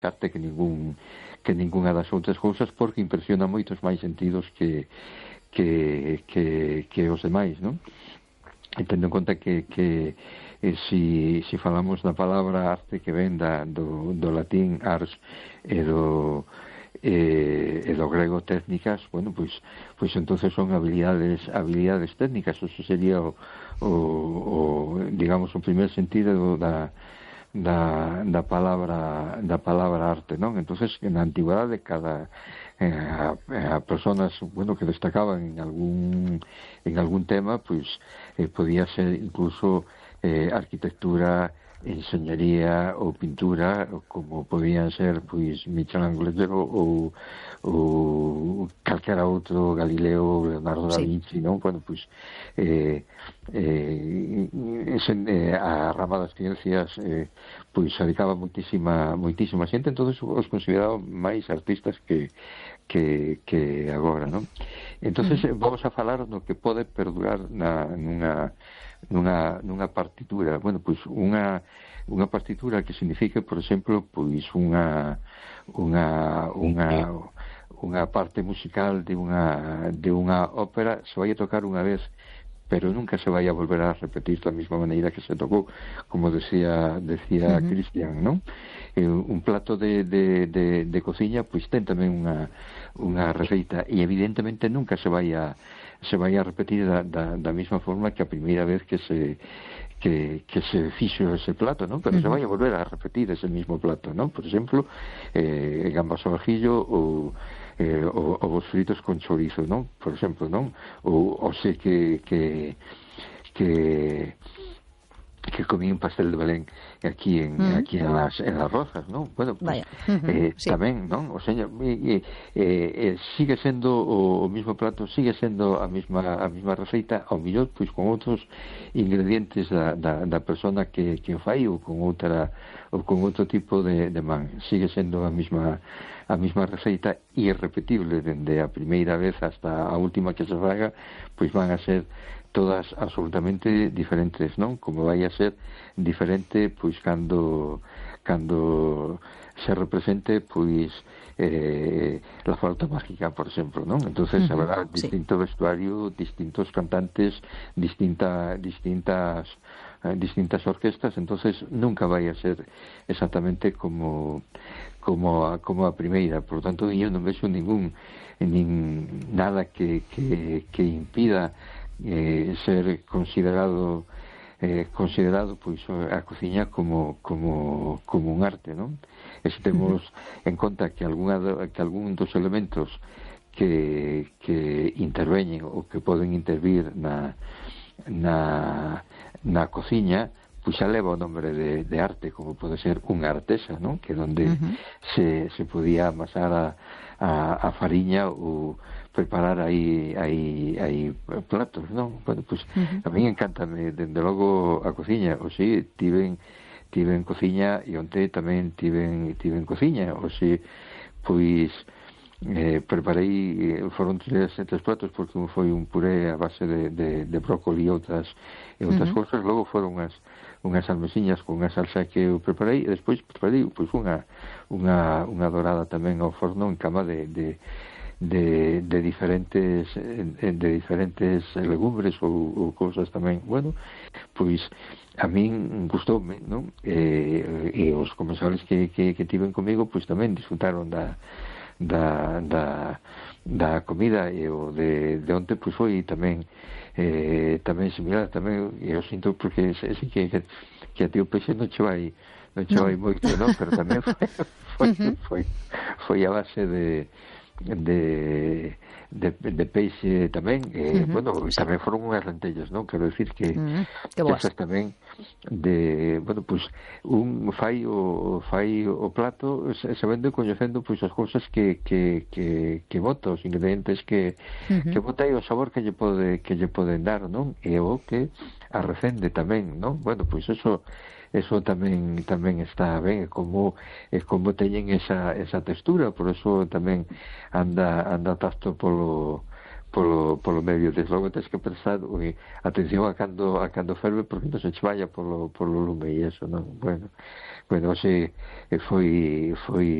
arte que ningunha das outras cousas, porque impresiona moitos máis sentidos que os demais, non? E tendo en conta que si falamos da palabra arte que ven do latín ars e do grego técnicas, bueno, pois entonces son habilidades técnicas. Eso sería digamos o primer sentido da palabra arte, non? Entonces, na antigüedade a personas, bueno, que destacaban en algún tema, pois podía ser incluso arquitectura, enxeñería ou pintura, como podían ser pois Michelangelo ou calquera outro, Galileo, Leonardo da Vinci, non? Bueno, pois a rama das ciencias pois dedicaba moitísima xente, entonces os consideraban máis artistas que agora, non? Entonces vamos a falar do que pode perdurar nunha partitura. Bueno, pois unha partitura que signifique, por exemplo, pois unha parte musical de unha ópera se vai a tocar unha vez, pero nunca se vai a volver a repetir da mesma maneira que se tocou, como decía Cristian, non? Un plato de cociña pois ten tamén unha receita, e evidentemente nunca se vai a repetir da mesma forma que a primeira vez que se fixo ese plato, non? Pero se vai a volver a repetir ese mismo plato, non? Por exemplo, gambas ao ajillo ou ovos fritos con chorizo, non? Por exemplo, non? Ou sei que comí un pastel de Belén aquí en las Rozas, non? Bueno, pues, tamén, non? O señor, sigue sendo o mismo plato, sigue sendo a mesma receita, ao mellor pois con outros ingredientes da persona que o fai, ou con outro tipo de man. Sigue sendo a mesma receita, irrepetible dende a primeira vez hasta a última que se faga, pois van a ser todas absolutamente diferentes, non? Como vai a ser diferente pois cando se represente pois la flauta mágica, por exemplo, non? Entonces habrá distinto vestuario, distintos cantantes, distintas orquestas, entonces nunca vai a ser exactamente como a primeira. Por lo tanto, eu non vexo nada que impida ser considerado pois a cociña como un arte, non? E se temos en conta que algún dos elementos que interveñen ou que poden intervir na cociña, pois xa leva o nombre de arte, como pode ser unha artesa, non? Que onde se podía amasar a fariña ou preparar aí platos, non? Bueno, pois a mí encántame dende logo a cociña. O si tiven cociña, e onte tamén tiven cociña. O si pois preparei, foron tres platos, porque un foi un puré a base de brócoli e outras cousas. Logo foron unhas almesiñas con unha salsa que eu preparei, e despois preparei pois unha dorada tamén ao forno en cama de diferentes legumbres ou cousas tamén. Bueno, pois a min gustoume, non? E os comensales que tiven comigo pois tamén disfrutaron da comida, e o de onte pois foi tamén similar. Tamén eu sinto, porque sei que a ti o peixe non che vai moito, non? Pero tamén foi a base de peixe tamén. Bueno, tamén foron unhas lentellas, non? Quero dicir que esas tamén bueno, pois un fai o plato sabendo e coñecendo pois as cousas que bota, os ingredientes que bota, e o sabor que lle poden dar, non? E o que a recende tamén, non? Bueno, pois eso tamén está ben, como teñen esa textura. Por eso tamén anda tacto polo polo medio, desde logo tens que pensar atención a cando ferve porque non se che vaya polo lume e eso, non? Bueno, hoxe foi